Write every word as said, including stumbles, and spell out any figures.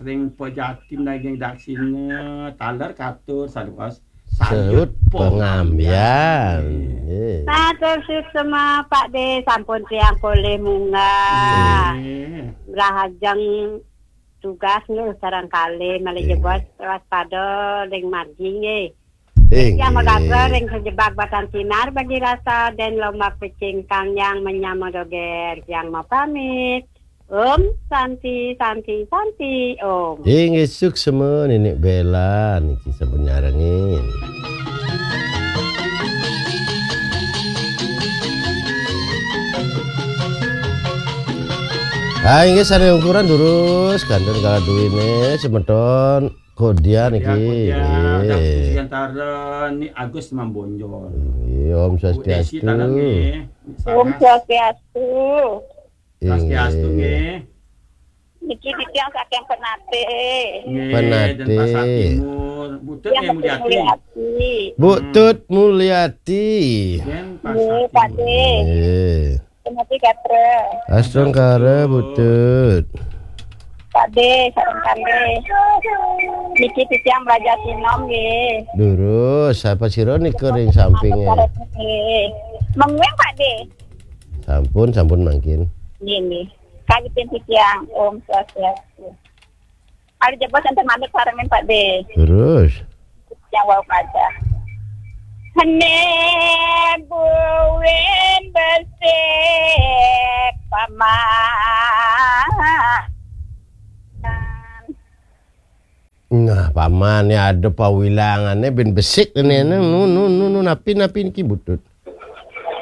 Ring pejatin daging daksina, taler katur saduas Saut pengambian. Nggih. Matur suksma Pak De, sampun tiang polih munggah. Nggih. Rahajeng tugas nggih sareng kalih malih Nggih. Jebos waspada ring margi nggih. Inggih. Yang magagra ring sejebak batang sinar bagi rasa dan lombak pecing kang yang menyama doger yang mau pamit. Om Santi Santi Santi Om. Inggih suksma Ninik Bella niki sampun nyarengin. Ah, inggih sane ukuran durus kantun kala duwine semeton Kodia niki. Ya, Kodia, Nggih. Daksina Siantara, Ni Agus Mambonjol. Nggih, Om Bu Desi Swastiastu. Tanang nggih. Om Swastiastu. Swastiastu Inggih. Nggih. Niki titiang saking Penate. Nggih, Penate. Denpasar Timur. Butut Yang nggih Mulyati. Mulyati. Bu Tut Mulyati. Denpasar Nggih, Timur. Pak De. Nggih. Penate Gatra. Astungkara Bu Tut. Pak De, sareng kalih. Niki titiang belajar sinom nggih. Durus, sapa sira nika ring sampinge? Nggih. Menguing Pak De. Sampun, sampun mangkin. Nggih, nggih. Kagitin titiang Om Swastiastu. Ari Jebos enten manut sarengin Pak De. Durus. Yang wau kaca. Hene buin besik paman. Nah, pamane ada pawilangane ben besik nene nu nu nu nu napi napi niki Bu Tut.